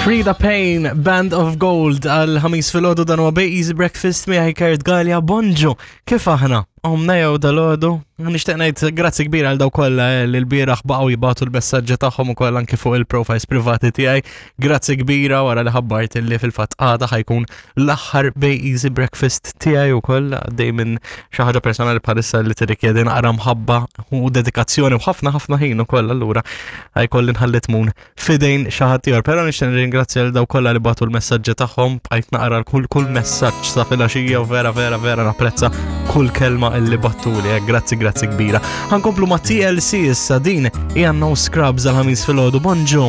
Frida Payne, Band of Gold, għal ħamis filgħodu dan huwa Bay Easy Breakfast miegħi Kurt Gallia, bonġu, kif aħna? Omna jew dal-għodu? Nixtieq ngħid grazzi kbira għal daw kollha eh, li l-bieraħ baqgħu jibgħatu l-messaġġi tagħhom ukoll anke fuq il-profiles privati tiegħi. Grazzi kbira wara li ħabbart li fil-fatt għada ħajkun l-aħħar Bay Easy Breakfast tiegħi ukoll għaddej minn xi ħaġa personali bħalissa li tirrikjedi naqra mħabba u dedikazzjoni u ħafna ħafna ħin ukoll allura ħajkolli nħalli tmun fidejn xi ħadd ieħor. Però nixtieq nirringrazzja lil dawk kollha li bagħtu l-messaġġi tagħhom, bqajt naqra kull kull messaġġ sa filgħaxija u vera vera vera napprezza kull kelma illi battuli. Eh, grazzi grazzi kbira. Ħankomplu ma' TLC issa din hija No Scrubs għal ħamis filgħodu. Bonġu.